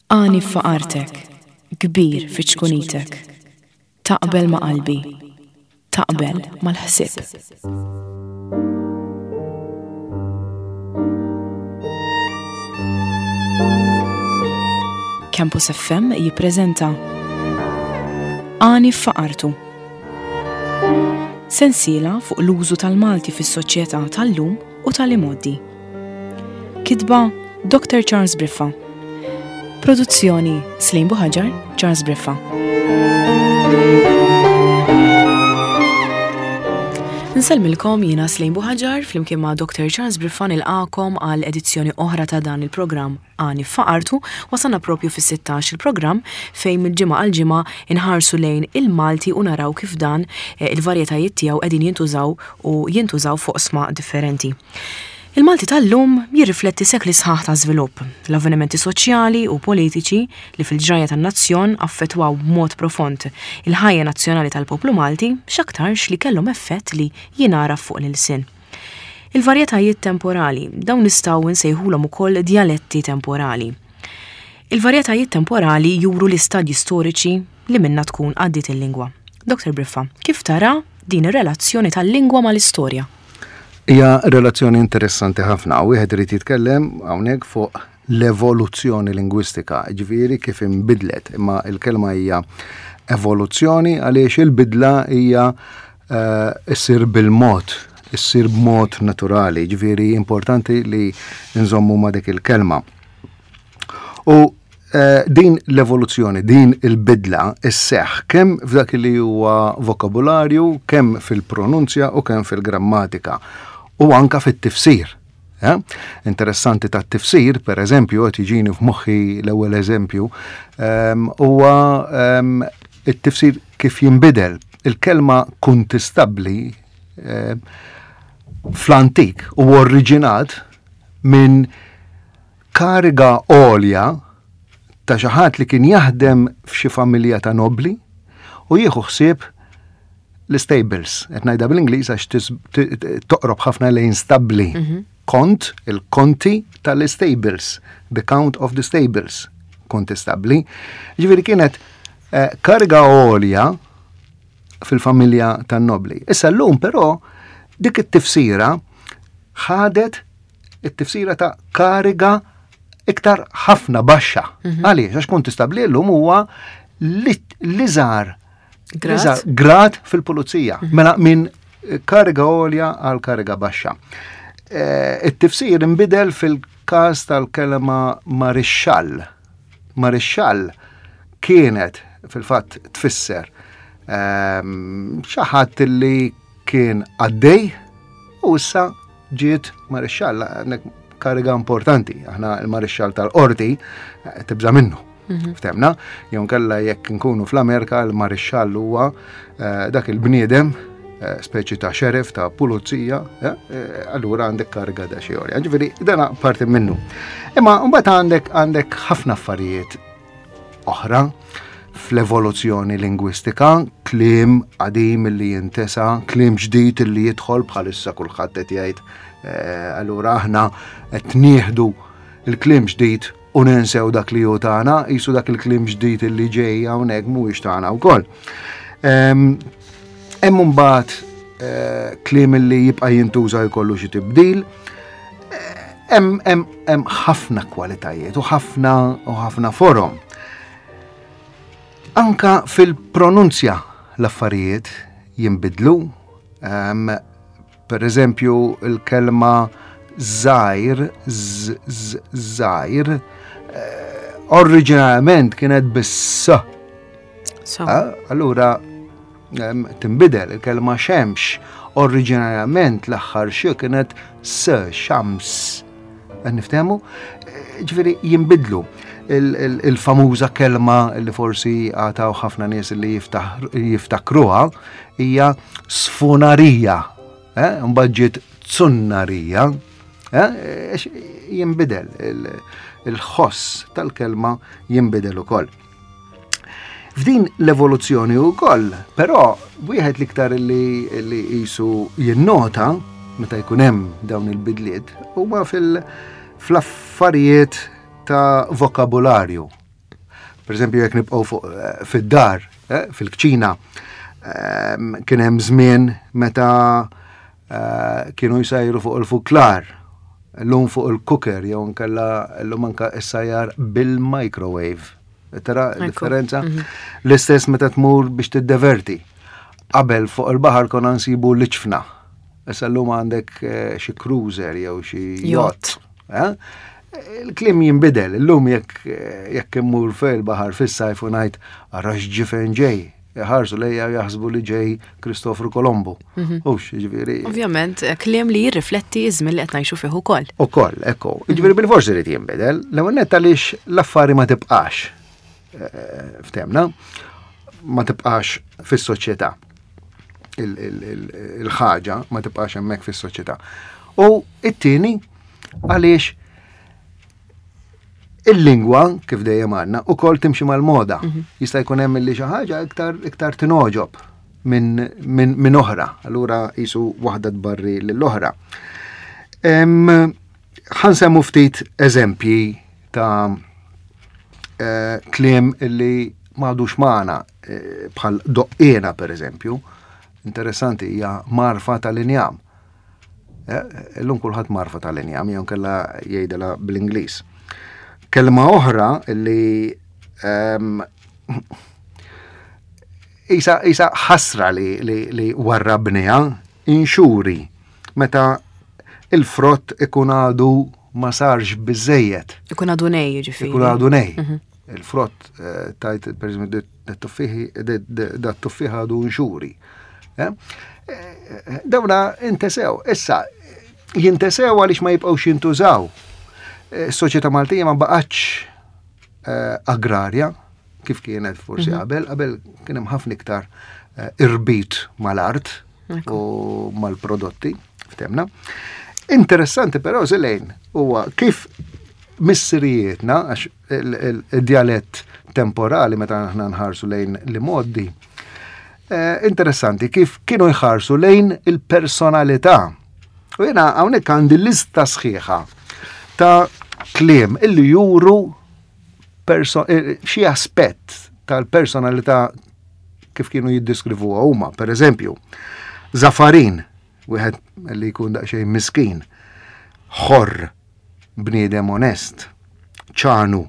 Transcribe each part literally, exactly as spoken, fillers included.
Għani f'faqartek, kbir fi ċkunitek. Taqbel ma' qalbi, taqbel mal-ħsieb. Campus F M jippreżenta Għani f'faqartu. Sensiela fuq l-użu tal-Malti fis-soċjetà tal-lum u tal-imgħoddi. Kitba Doctor Charles Briffa. Produzzjoni Slim Buhaġar, Charles Briffa. Nsellmilkom jiena Slim Buhaġar flimkien ma' Doctor Charles Briffa nilqakom għal edizzjoni oħra ta' dan il-programm Għani f'Faqartu. Wasalna propju fis-sittax il-programm fejn mill-ġimgħa għal ġimgħa inħarsu lejn il-Malti u naraw kif dan, eh, il-varjetajiet tiegħu qegħdin jintużaw u jintużaw fuq sma differenti. Il-Malti tal-lum jirrifletti sekli sħaħ ta' żvilupp, l-avvenimenti soċjali u politiċi li fil-ġrajja tan-nazzjon affettwaw b'mod profond il-ħajja nazzjonali tal-poplu Malti x'aktarx li kellhom effett li jingħaraf fuq l-ilsien. Il-varjetajiet temporali, dawn nistgħu nsejħulhom ukoll djaletti temporali. Il-varjetajiet temporali juru l-istadji storiċi li minna tkun għaddiet il-lingwa. Doctor Briffa, kif tara din ir-relazzjoni tal-lingwa mal-istorja? Hija relazzjoni interessanti ħafna. Wieħed irid jitkellem hawnhekk fuq l-evoluzzjoni lingwistika, ġifieri kif inbidlet, imma l-kelma hija evoluzzjoni għaliex il-bidla hija, eh, issir bil-mod, issir b'mod naturali, ġifieri importanti li nżommu ma' dik il-kelma. U, eh, din l-evoluzzjoni, din il-bidla isseħħ kemm f'dak li huwa vokabularju, kemm fil-pronunzja u kemm fil-grammatika u anka fit-tifsir. Eh? Interessanti tat-tifsir, per eżempju, qed jiġini f'moħħi l-ewwel eżempju, ehm, huwa, ehm, it-tifsir kif jinbidel. Il-kelma kuntistabbli, ehm, fl-antik u oriġinat minn kariga għolja ta' xi ħadd li kien jaħdem f'xi familja ta' nobli u jieħu ħsieb l-stables. Qed ngħidha bl-Ingliż għax tis-, t-, t-, toqrob ħafna lejn stabli. Mhm. Kont, il-konti tal-stables, the count of the stables, konti stabli. Ġifieri kienet, eh, kariga għolja fil-familja tan-nobli. Issa llum però dik it-tifsira ħadet it-tifsira ta' kariga iktar ħafna baxxa. Mhm. Għaliex? Għax kont tistabli llum huwa li-, l-iżgħar Grad. l-iżgħar grad fil-pulizija. Mhm. Mela minn kariga għolja għal kariga baxxa. Eh, it-tifsir inbidel fil-każ tal-kelma marixxall. Marixxall kienet fil-fatt tfisser, ehm, xi ħadd li kien għaddej u issa ġiet marixxall, għandek kariga importanti. Aħna l-marixxall tal-qorti, eh, tibża' minnu. Mhm. Ftemna, jew nkella jekk nkunu fl-Amerika l-marixxall huwa, eh, dak il-bniedem, eh, speċi ta' xerif, ta' pulizija, eh, eh, allura għandek kariga da xi għolja. Ġifieri, dana parti minnu. Imma mbagħad għandek, għandek ħafna affarijiet oħra fl-evoluzzjoni lingwistika, kliem qadim li jintesa, kliem ġdid li jidħol bħalissa kulħadd qed jgħid, eh, allura aħna qed nieħdu il-kliem ġdid u ninsew dak li hu tagħna, qisu dak il-kliem ġdid li ġej hawnhekk mhuwiex tagħna wkoll. Ehm, hemm imbagħad, eh, kliem li jibqa' jintuża jkollu xi tibdil. Eh, hemm, hemm, hemm ħafna kwalitajiet u ħafna, u ħafna forom. Anka fil-pronunzja l-affarijiet jinbidlu. Ehm, per eżempju, il-kelma żgħir, z-, z-, żgħir, eh, oriġinarjament kienet bis-s. So. Eh, allura, ehm, tinbidel il-kelma xemx, oriġinarjament l-aħħar xi kienet s, xams. Qed niftehmu? Eh, ġifieri jinbidlu. Il-, il-, il-famuża kelma li forsi għataw ħafna nies li jiftaħ-, jiftakruha hija sfunarija. Eh, mbagħad ġiet tsunnarija. Eh, għax jinbidel il-, il-ħoss tal-kelma jinbidel ukoll. F'din l-evoluzzjoni wkoll, però wieħed l-iktar li, li qisu jinnota meta jkun hemm dawn il-bidliet huma fil-, fl-affarijiet ta' vokabularju. Per eżempju, jekk nibqgħu fuq eh, fid-dar, eh, fil-kċina, ehm, kien hemm żmien meta eh, kienu jsajru fuq il-fuklar, llum fuq il-cooker, jew nkella llum anka issajjar bil-microwave. Tara differenza? Mhm. L-istess meta tmur biex tiddeverti. Qabel fuq il-baħar konna nsibu l-iġfna. Issa llum għandek xi cruiser jew xi yacht. Il-kliem jinbidel, illum jekk jekk immur fil-baħar fis-sajf u ngħid ara x'ġifen ġej, ħarsu lejja jaħsbu li ġej Kristofru Kolombo. Mhm. Hux, ġifieri. Ovvjament, kliem li jirrifletti iż-żmien li qed ngħixu fih ukoll. Ukoll, ekku. Ġifieri bil-forsi li jinbidel, l-ewwel nett għaliex l-affari ma tibqax. Eh, ftemna, ma tibqax fis-soċjetà. Il-ħaġa ma tibqax hemmhekk fis-soċjetà. U it-tieni għaliex il-lingwa, kif dejjem għandna, ukoll timxi mal-moda. Mhm. Jista' jkun hemm li xi ħaġa iktar iktar tingħoġob minn min, min oħra. Allura jisu waħda tbarri lill-oħra. Ħa nsemmu ftit eżempji ta' eh, kliem illi m'għadux magħna eh, bħal doqqina per eżempju. Interessanti hija mgħarfa tal-injam. Eh, illum kulħadd mgħarfa tal-injam, jew kella jgħidilha bl-Ingliż. Kelma oħra li um, isa, isa ħasra li, li, li warrabniha, inxuri, meta il-frott ikun għadu ma sarx biżejjed. Ikun għadu nej, ġifieri. Ikun għadu nej. Mhm. Il-frott, eh, tajt, per eżempju, dat-tuffieħ għadu nxuri. Eh? Eh, dawna intesew. Issa, jintesew għaliex ma jibqgħux jintużaw. Is-soċjetà Maltija ma baqgħetx agrarja kif kienet forsi mhm. qabel, qabel kien hemm ħafna iktar irbit mal-art u mal-prodotti, ftemna. Interessanti però Zelejn huwa kif missirijietna, għax il-djalett temporali meta aħna nħarsu lejn l-imgħoddi, eh, interessanti kif kienu jħarsu lejn il-personalità. U jena hawnhekk għandi lista sħiħa ta' kliem illi juru eh, xi aspett tal-personalità kif kienu jiddiskrivuha huma. Per eżempju, Zafarin, wieħed li jkun daqsxejn miskin, ħorr, bniedem onest, ċanu,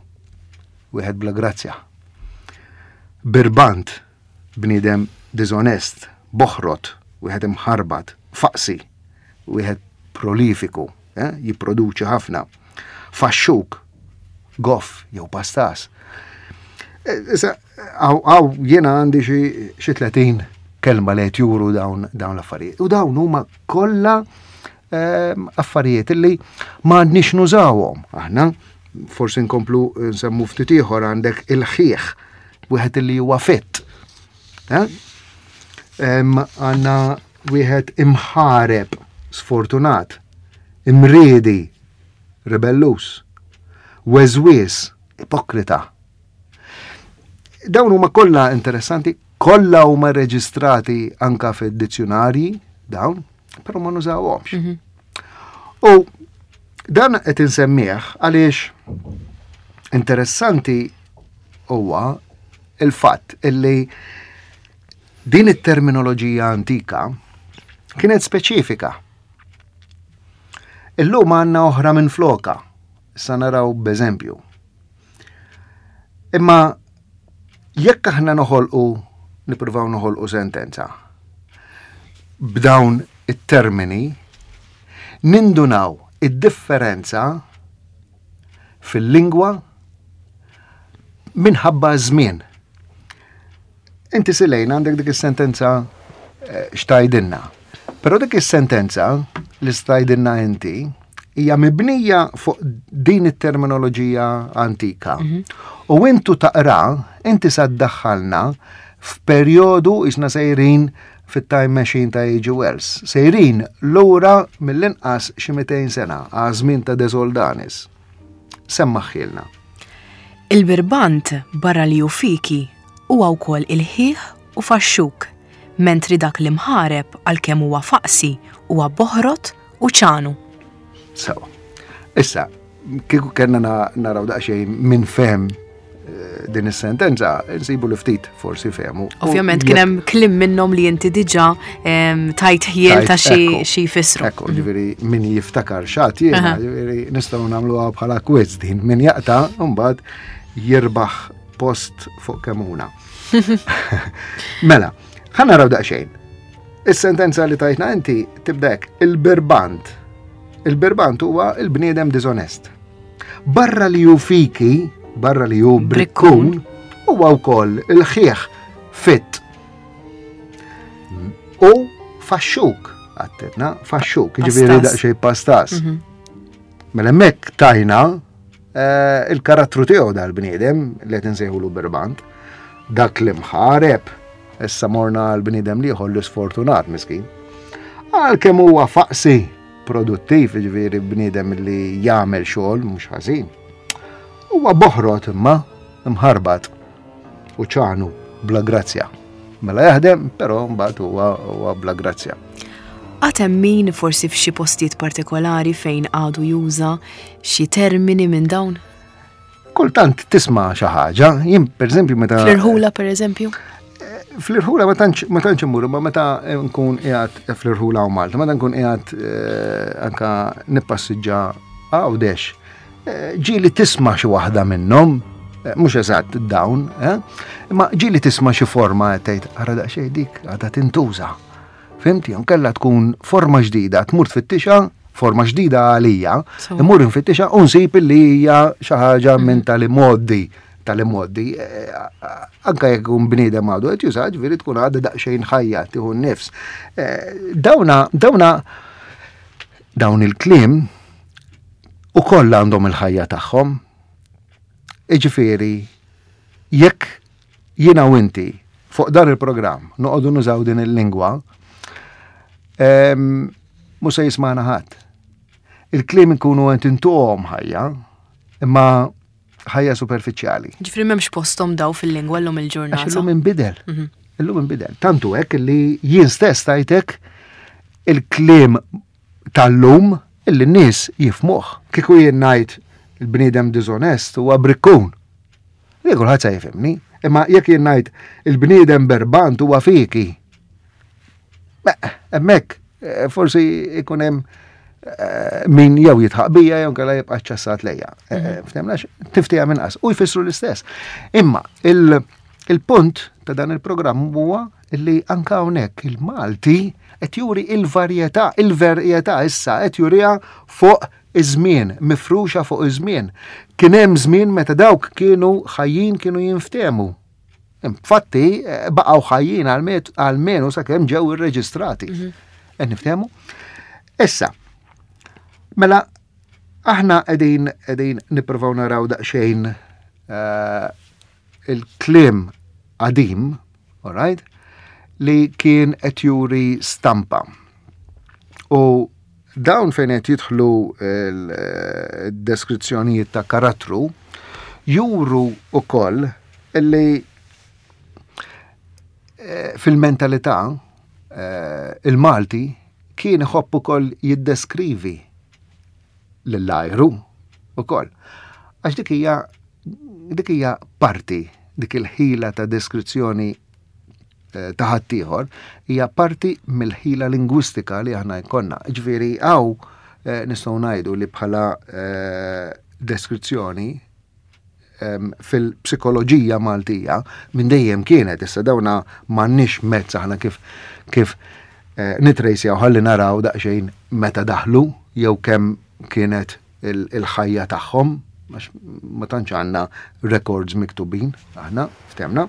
wieħed bla grazzja. Birbant, bniedem dizonest, boħrot, wieħed imħarbat, faqsi, wieħed prolifiku, eh, jipproduċi ħafna. Faxxuk, goff jew pastas. Eh, issa, għaw jiena għandi xi tletin kelma li qed juru dawn dawn l-affarijiet. U dawn huma kollha ehm, affarijiet li ma għandniex nużawhom. Aħna forsi nkomplu nsemmu ftit ieħor għandek il-ħieħ, wieħed li huwa fit. Eh? Għandna wieħed imħareb, sfortunat, imriedi, rebellus, weżwies, ipokrita. Dawn huma kollha interessanti, kollha huma reġistrati anka fid-dizzjonarji dawn, però ma nużawhomx. Mhm. U dan qed insemmih għaliex interessanti huwa il-fatt illi din it-terminoloġija antika kienet speċifika. Illum għandna oħra minn floka, issa naraw b'eżempju. Imma jekk aħna noħolqu, nippruvaw noħolqu sentenza b'dawn it-termini, nindunaw id-differenza fil-lingwa minħabba żmien. Inti Silejn għandek dik is-sentenza eh, xtajdinna. Però dik is-sentenza li stajdinna inti hija mibnija fuq din it-terminoloġija antika. Mhm. U intu taqra, inti sa ddaħħalna f'perjodu isna sejrin fit-time machine ta' H G. Wells. Sejrin lura mill-inqas xi mitejn sena għaż-żmien ta' De Soldanis. Semmaħħilna. Il-birbant barra li hu fiki huwa wkoll il-ħieħ u faxxuk, mentri dak li mħareb għalkemm huwa faqsi huwa boħrot u ċanu. Sewa. Issa, kieku kellna naraw daqsxejn minn fem eh, din is-sentenza, nsibu li ftit forsi fehmu. Ovvjament kien hemm kliem minnhom li inti diġà tajt ħjiel ta' xi xi jfissru. Ekku, ġifieri min jiftakar x'għedt jiena, ġifieri nistgħu nagħmluha bħala quiz din, min jaqta' mbagħad jirbaħ post fuq Kemmuna. Mela, ħa naraw daqsxejn. Is-sentenza li tajtna inti tibda hekk, il-birbant. Il-birbant huwa il-bniedem diżonest. Barra li hu fiki, barra li hu brikkun, huwa wkoll il-ħieħ fit. U faxxuk, għattetna, faxxuk, ġifieri daqsxejn pastas. Mhm. Mela hemmhekk tajna eh, il-karattru tiegħu dal-bniedem li qed insejħulu birbant, dak li mħareb, issa morna l-bniedem l-ieħor l-sfortunat miskin. Għalkemm huwa faqsi produttiv, ġifieri bniedem li jagħmel xogħol mhux ħażin. Huwa boħrot imma mħarbat u ċanu bla grazzja. Mela jaħdem, però mbagħad huwa huwa bla grazzja. Għad hemm min forsi f'xi postijiet partikolari fejn għadu juża xi termini minn dawn? Kultant tisma' xi ħaġa, jien pereżempju meta Fl-irħula pereżempju? Fl-irħula ma tantx ma tantx immur, ma meta nkun qiegħed fl-irħula u Malta, meta nkun qiegħed eh, anka nippassiġġa Għawdex, eh, ġieli tisma' xi waħda minnhom, eh, mhux eżatt dawn, imma ġieli tisma' xi forma tgħid ara daqsxejn dik għadha tintuża. Fhimt, kella tkun forma ġdida, tmur tfittixa, forma ġdida għalija, immur nfittixa u nsib li hija xi ħaġa minn tal-imgħoddi tal-imgħoddi, eh, anka jekk un bniedem għadu qed juża, ġifieri tkun għadha daqsxejn ħajja tieħu n-nifs. Eh, dawna, dawna, dawn il-kliem ukoll għandhom il-ħajja tagħhom. Iġifieri, jekk jiena u inti fuq dan il-programm noqogħdu nużaw din il-lingwa, mhux se jismagħna ħadd. Il-kliem ikunu qed intuhom ħajja, imma ħajja superfiċjali. Ġifieri m'hemmx posthom daw fil-lingwa llum il-ġurnata. Għax illum inbidel. Mhm. Illum inbidel. Tantu hekk li jien stess tajtek il-kliem tal-lum illi n-nies jifhmuh. Kieku jien ngħid il-bniedem diżonest huwa brikkun. Li kulħadd se jifhimni. Imma jekk jien ngħid il-bniedem berbant huwa fiki. Hemmhekk eh, forsi ikun hemm eh, min jew jidħaq bija jew kella jibqa' ċassat lejja. Eh, mhm. Ftemnax, tiftija minn qas u jfissru l-istess. Imma il-punt ta' dan il-programm huwa li anka hawnhekk il-Malti qed juri il-varjetà, il-varjetà issa qed juriha fuq iż-żmien, mifruxa fuq iż-żmien. Kien hemm żmien meta dawk kienu ħajjin kienu jinftemu. Infatti, eh, baqgħu ħajjin għalmenu sakemm ġew irreġistrati. Mhm. Qed niftehmu? Issa, mela aħna qegħdin qegħdin nippruvaw naraw daqsxejn eh, il-kliem qadim, all right, li kien qed juri stampa. U dawn fejn qed jidħlu l-deskrizzjonijiet ta' karattru juru ukoll li eh, fil-mentalità eh, il-Malti kien iħobb ukoll jiddeskrivi lill-ajru ukoll. Għax dik hija dik hija parti, dik il-ħila ta' deskrizzjoni eh, ta' ħaddieħor hija parti mill-ħila lingwistika li aħna jkollna. Ġifieri hawn eh, nistgħu ngħidu li bħala eh, deskrizzjoni fil-psikoloġija Maltija minn dejjem kienet, issa dawna m'għandniex mezz aħna kif kif nitrejsjaw ħalli naraw daqsxejn meta daħlu jew kemm kienet il-ħajja tagħhom, għax ma tantx għandna records miktubin aħna, ftemna.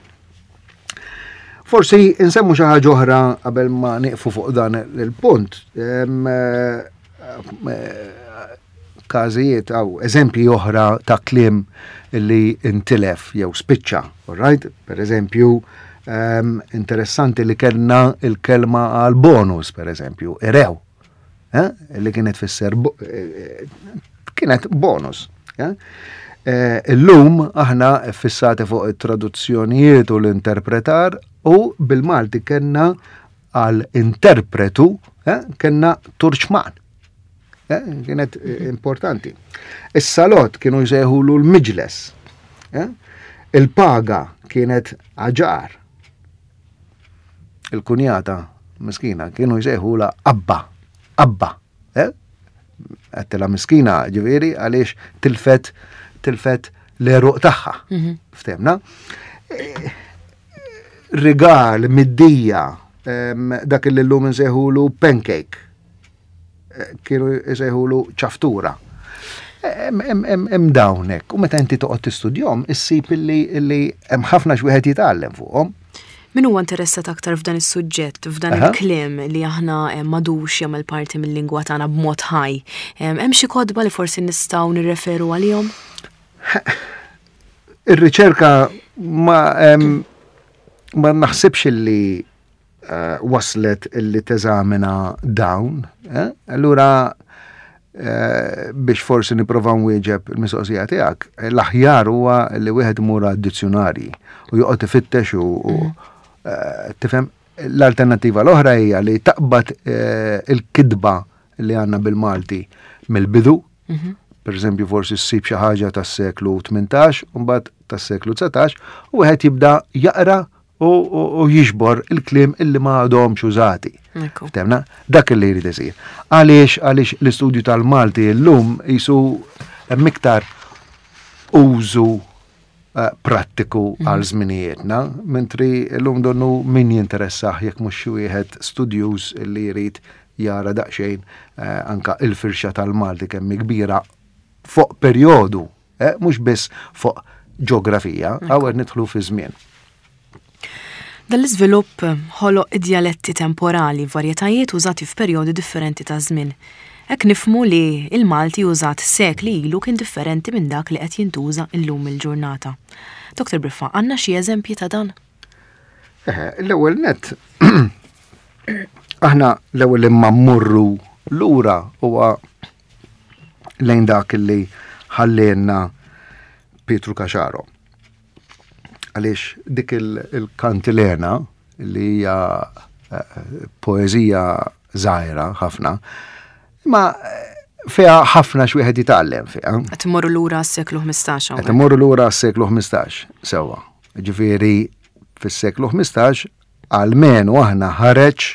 Forsi nsemmu xi ħaġa oħra qabel ma nieqfu fuq dan il-punt. Eh, każijiet aw eżempji oħra ta' kliem li intilef jew spiċċa, right? Per eżempju, um, interessanti li kellna il-kelma għal bonus, per eżempju, irew, eh? li kienet fisser eh, kienet bonus. Eh? Eh, illum aħna fissati fuq it-traduzzjonijiet u l-interpretar u bil-Malti kellna għal interpretu eh, kellna turċman. Eh, kienet importanti. Is-salott kienu jsejħulu l-miġles. Eh? Il-paga kienet aġar. Il-kunjata, miskina, kienu jsejħula abba, abba. Eh? Għedtilha miskina, ġifieri, għaliex tilfet, tilfet l-għeruq tagħha. Mhm. Ftemna? Eh, rigal, middija, dak li llum nsejħulu pancake. Eh, kienu jsejħulu ċaftura. Hemm dawnek, u meta inti toqgħod tistudjahom, issib illi hemm ħafna x'wieħed jitgħallem fuqhom. Min huwa interessat aktar f'dan is-suġġett, f'dan il-kliem li aħna eh, m'għadux jagħmel parti mill-lingwa tagħna b'mod ħaj. Hemm xi kotba li forsi nistgħu nirreferu għalihom? Ir-riċerka ma ma naħsibx li eh, waslet illi teżamina dawn. Eh? Allura eh, biex forsi nipprova nwieġeb il-mistoqsija tiegħek, l-aħjar huwa li wieħed imur għad-dizzjonarji u joqgħod ifittex u mm. tifhem l-alternattiva l-oħra hija li taqbad il-kitba li għandna bil-Malti mill-bidu, mhm. per eżempju forsi ssib xi ħaġa tas-seklu tmintax, u mbagħad tas-seklu dsatax, u wieħed jibda jaqra u jiġbor il-kliem illi ma għadhomx użati. Ftemna, dak li jrid isir. Għaliex għaliex l-istudju tal-Malti llum jisu hemm iktar użu eh, prattiku mhm. għal żminijietna, mentri llum donnu min jinteressah jekk mhux xi wieħed studjuż li jrid jara daqsxejn eh, anka il-firxa tal-Malti kemm kbira fuq perjodu, eh, mhux biss fuq ġeografija, hawn nidħlu fi żmien. Dan l-iżvilupp ħoloq id-djaletti temporali, varjetajiet użati f'perjodi differenti ta' żmien. Hekk nifhmu li il-Malti użat sekli ilu kien differenti minn dak li qed jintuża illum il-ġurnata. Doktor Briffa, għandna xi eżempji ta' dan? Eh, l-ewwel net aħna l-ewwel imma mmorru lura huwa lejn dak li ħallielna Pietru Caxaro. Għaliex dik il-kantilena li hija eh, poeżija żgħira ħafna, imma eh, fiha ħafna x'wieħed jitgħallem fiha. Qed immorru lura s-seklu ħmistax. Qed immorru lura s-seklu ħmistax, sewwa. Ġifieri fis-seklu ħmistax almenu aħna ħareġ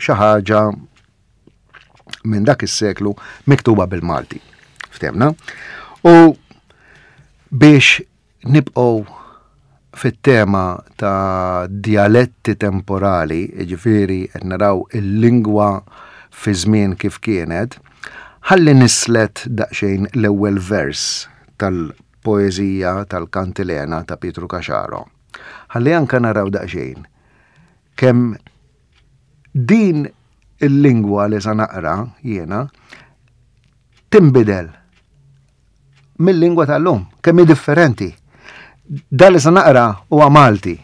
xi ħaġa minn dak is-seklu miktuba bil-Malti. Ftemna? U biex nibqgħu fit-tema ta' dialetti temporali, ġifieri qed naraw il-lingwa fi żmien kif kienet, ħalli nislet daqsxejn l-ewwel vers tal-poeżija tal-Kantilena ta' Pietru Caxaro. Ħalli anka naraw daqsxejn kemm din il-lingwa li sa naqra jiena tinbidel mill-lingwa tal-lum, kemm hi differenti. Dan li sa naqra huwa Malti.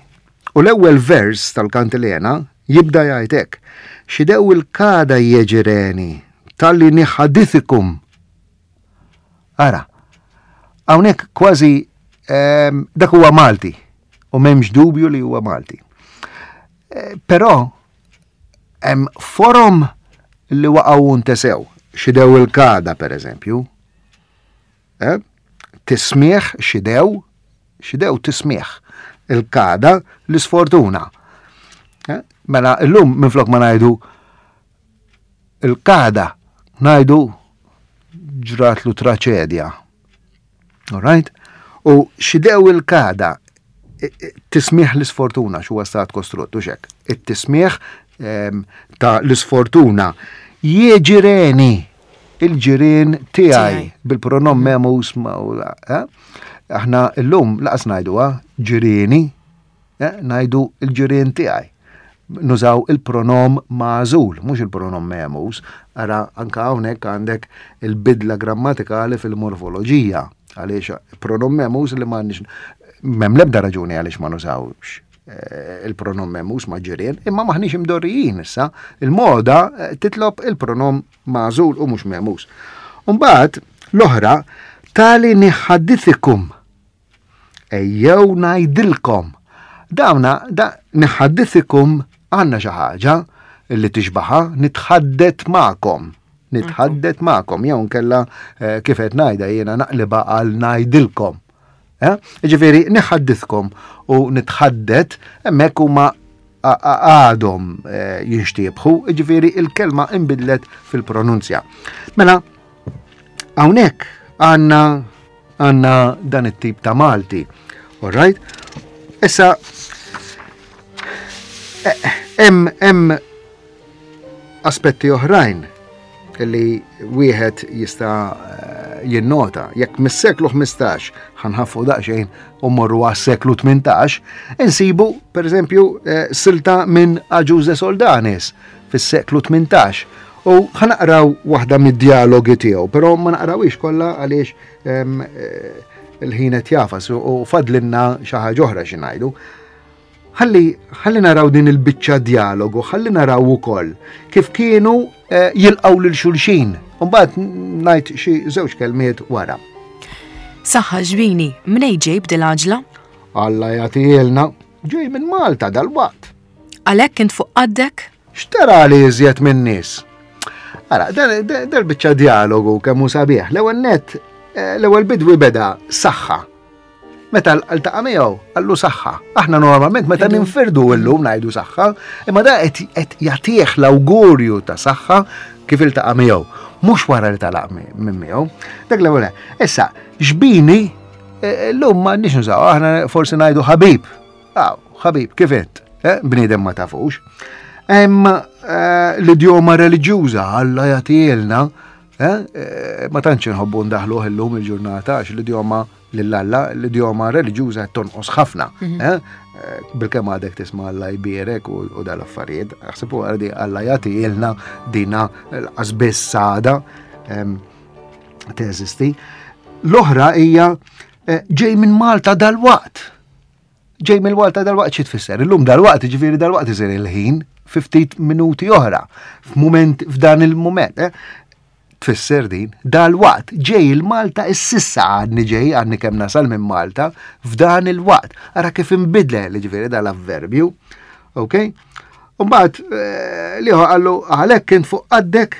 U l-ewwel vers tal-Kantilena jibda jgħid hekk: Xidew il-kada jeġireni tal-li niħadithikum. Ara, hawnhekk kważi ehm, dak huwa Malti u m'hemmx dubju li huwa Malti. Eh, però hemm forom li waqgħu ntesew. Xidew il-kada, per eżempju. Eh? Tismieħ xidew, xidew tismieħ. Il-kada l-isfortuna. Eh? Mela illum minflok ma ngħidu il-kada, ngħidu ġratlu traċedja. All right? U xidew il-kada, tismieħ l-isfortuna, x'huwa stat kostruttu xek. It-tismieħ ehm, ta' l-isfortuna jieġireni il-ġirien tiegħi bil-pronom memus ma eh? Aħna llum laqas ngħiduha ġirieni, eh? Ngħidu il-ġirien tiegħi. Nużaw il-pronom magħżul, mhux il-pronom memus. Ara anka hawnhekk għandek il-bidla grammatikali fil-morfoloġija. Għaliex pronom memus li m'għandniex, m'hemm l-ebda raġuni għaliex ma nużawx, eh, il-pronom memus ma' ġirien, imma maħniex imdorrijin issa, il-moda, eh, titlob il-pronom magħżul u mhux memus. Umbagħad l-oħra tali niħaddithikum. Ejjew ngħidilkom. Dawna da niħaddithikum għandna xi ħaġa li tixbaħa nitħaddet magħkom. Nitħaddet magħkom jew nkella, eh, kif qed ngħidha jiena naqliba għal ngħidilkom. Eh? Ġifieri niħaddithkom u nitħaddet hemmhekk huma għadhom eh, jinxtiebħu, ġifieri il-kelma inbidlet fil-pronunzja. Mela, hawnhekk għandna għandna dan it-tip ta' Malti. All right? Issa eh, hemm hemm aspetti oħrajn li wieħed jista' eh, jinnota. Jekk mis-seklu ħmistax ħa nħaffu daqsxejn u mmorru għas-seklu tmintax, insibu pereżempju eh, silta minn Agius de Soldanis fis-seklu tmintax. U ħa naqraw waħda mid-dialogi tiegħu, però ma naqrawix kollha għaliex ehm, eh, il-ħin qed jafas u fadlinna xi ħaġa oħra xi ngħidu. Ħalli, ħalli naraw din il-biċċa dialogu, ħalli naraw ukoll kif kienu eh, jilqgħu lil xulxin. Mbagħad ngħid xi żewġ kelmiet wara. Saħħa ġbini, mnej ġej b'dil-għaġla? Alla jagħtielna, ġej minn Malta dal-waqt. Għalhekk int fuq qaddek? X'tara li iżjed minn nies? Ara, dal-biċċa dialogu kemm hu sabiħ. L-ewwel net, eh, l-ewwel bidwi beda saħħa. Meta ltaqa' miegħu, qallu saħħa. Aħna normalment meta ninfirdu llum ngħidu saħħa, imma da qed jagħtih l-awgurju ta' saħħa kif iltaqa' miegħu, mhux wara li talaq minn miegħu. Dak l-ewwel. Issa, xbini eh, llum ma nix nużaw, aħna forsi ngħidu ħabib. Aw, ħabib, kif int? Eh, bniedem ma tafux. Hemm eh, l-idjoma reliġjuża Alla jagħtielna, ma tantx inħobbu ndaħluh illum il-ġurnata għax l-idjoma lill-Alla, l-idjoma reliġjuża qed tonqos ħafna. Mhm. Bilkemm għadek tisma' Alla jbierek u dal-affarijiet, aħseb u għardi Alla jagħtielna dina l-qasbiss sada teżisti. L-oħra hija ġej minn Malta dal-waqt. Ġej minn Malta dal-waqt xi tfisser? Illum dal-waqt, ġifieri dal-waqt isir il-ħin fi ftit minuti oħra, f'mument f'dan il-mument. Eh? Tfisser din, dal-waqt, ġej il-Malta ississa għadni ġej, għadni kemm nasal minn Malta, f'dan il-waqt. Ara kif inbidle, ġifieri dal-avverbju. Ok? Umbagħad eh, liħu qallu għalhekk kien fuq qaddek,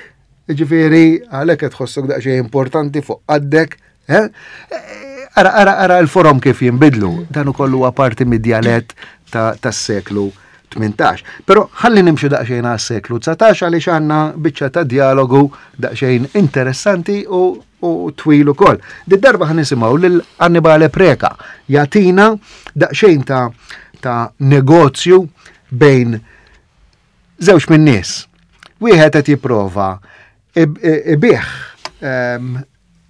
ġifieri għalhekk qed tħossok daqsxejn importanti fuq qaddek, eh? Ara, ara, ara l-forom kif jinbidlu. Dan ukoll huwa parti mid-djalett tas-seklu tmintax. Però ħalli nimxu daqsxejn għas-seklu dsatax għaliex għandna biċċa ta' dialogu daqsxejn interessanti u, u twil ukoll. Did-darba ħa nisimgħu lil Annibale Preca jagħtina daqsxejn ta', ta' negozju bejn żewġ minn nies. Wieħed qed jipprova ibih ehm,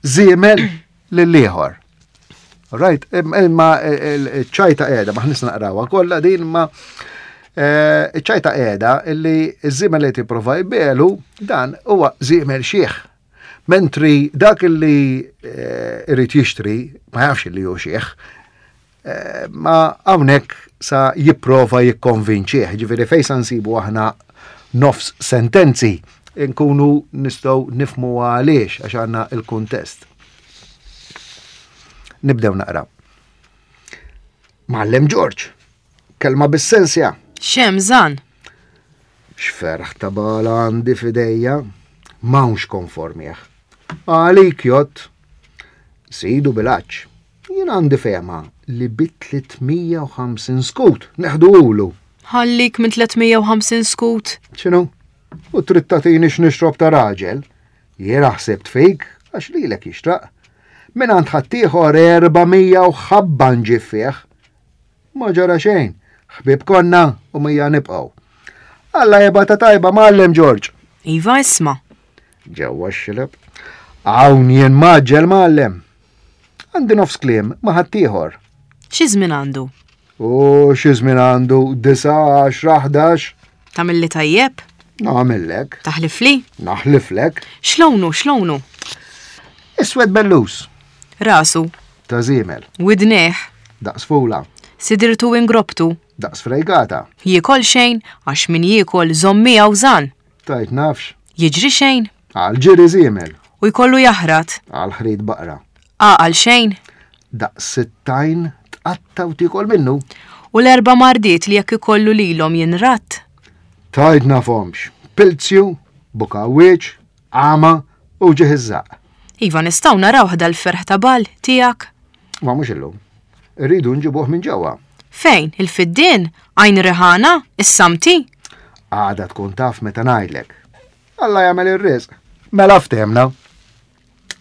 żiemel lil ieħor. Right, imma ċ-ċajta qiegħda, ma ħnis naqrawha kollha din, ma ċ-ċajta qiegħda illi ż-żiemel li tipprova jbelu dan huwa żiemel xiħ. Mentri dak illi irid jixtri ma jafx li hu xiħ, ma hawnhekk sa jipprova jikkonvinċih, ġifieri fejn sa nsibu aħna nofs sentenzi nkunu nistgħu nifhmu għaliex għax għandna il-kuntest. Nibdew naqra. Mgħallem Ġorġ, kelma bis-sensja. Xem żan? X'ferħ ta' bala għandi f'idejja, m'hawnx konformih. Għalik jott, sidu bil-għaġġ. Jien għandi fehma li bi tliet mija u ħamsin skut neħduhulu. Ħallik minn tliet mija u ħamsin skut. X'inhu? U trid tagħtini x'nixrob ta' raġel? Jiena ħsibt fik għax lilek jixtraq. Minn għand ħaddieħor erba' mija u ħabba nġib fih. Ma ġara xejn, ħbieb konna u mija nibqgħu. Alla jibgħatha tajba mgħallem Ġorġ. Iva isma'. Ġewwa x-xileb. Hawn jien maġġel mgħallem. Għandi nofs kliem ma' ħaddieħor. Xi żmien għandu? U xi żmien għandu disa, għaxra, ħdax. Tagħmilli tajjeb? Nagħmillek. Taħlifli? Naħliflek. X'lonu, x'lonu? Iswed bellus. Rasu. Ta' żiemel. Widnejh. Daqs fula. Sidirtu ingrobtu. Daqs frejgata. Jiekol xejn, għax min jiekol żomm miegħu żan. Tajt nafx. Jiġri xejn. Għal ġiri żiemel. U jkollu jaħrat. Għal ħrid baqra. Għaqal xejn. Daqs sittajn tqatta u tiekol minnu. U l-erba' mardiet li jekk ikollu lilhom jinratt. Tajt nafhomx. Pilzju, bukawieċ, għama u ġieħ iż-żaq. Iva nistgħu naraw ħda l-ferħ ta' bal tiegħek. Ma mhux illum. Irridu nġibuh minn ġewwa. Fejn? Il-Fiddien? Għajn Riħana? Is-Samti? Għada tkun taf meta ngħidlek. Alla jagħmel ir-riżq. Mela ftehmna.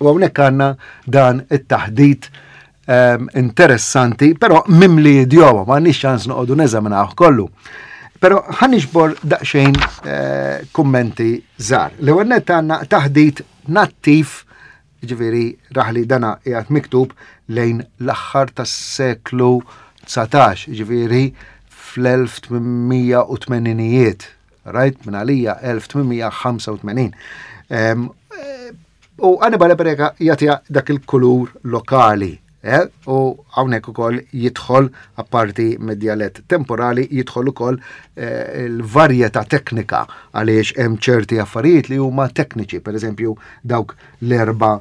U hawnhekk għandna dan it-taħdit um, interessanti, però mimli idjoma, ma nix ċans noqogħdu neżaminaw kollu. Però ħa niġbor daqsxejn eh, kummenti żgħar. L-ewwel nett għandna taħdit nattiv, ġifieri raħli, dana qiegħed miktub lejn l-aħħar tas-seklu dsatax, ġifieri fl-elf tmien mija u tmeninijiet, right? Minn għalija elf tmien mija ħamsa u tmenin. Em, eh, U Annibale Preca jagħtiha dak il-kulur lokali. Eh? U hawnhekk ukoll jidħol, apparti mid-djalett temporali, jidħol ukoll eh, il-varjetà teknika, għaliex hemm ċerti affarijiet li huma tekniċi, per eżempju dawk l-erba'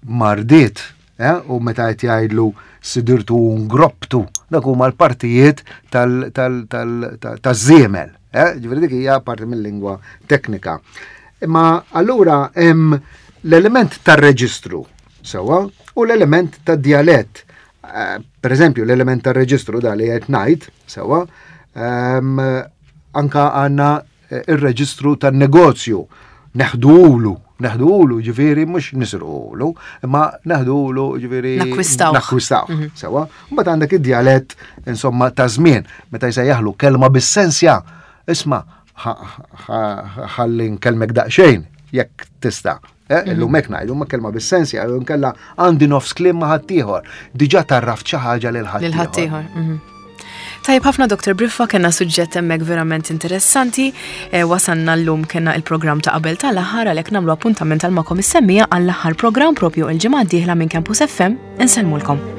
mardiet, eh? U meta qed jgħidlu sidirtu u ngrobtu, dak huma l-partijiet taż-żiemel. Eh? Ġifieri dik hija parti mill-lingwa teknika. Imma allura hemm l-element tar-reġistru, sewwa, u l-element tad-djalett. Eh, Per eżempju, l-element tar-reġistru da li qed ngħid, sewwa, ehm, anka għandna eh, ir-reġistru tan-negozju. Neħdulu, neħdulu ġifieri mhux nisirqulu, imma neħdulu ġifieri Nakkwistawh. Nakkwistawh, sewwa. Mbagħad għandek id-djalett, insomma, ta' żmien, meta jsejjaħlu kelma bis-sensja, isma', ħalli nkellmek daqsxejn jekk tista'. Eh, illum hekk ngħidu, ma kelma bis-sensja, jew nkella għandi nofs kliem ma' ħaddieħor. Diġà tarraft xi ħaġa lil ħaddieħor. Lil ħaddieħor. mhm. Tajjeb ħafna, Doktor Briffa, kena suġġett hemmhekk verament interessanti. E, wasanna llum, kena il-programm ta' qabel tal-aħħar, għalhekk nagħmlu appuntament għal magħkom is-semmiegħa għall-aħħar programm propju il-ġimgħa d-dieħla minn Campus F M. Insellmulkom.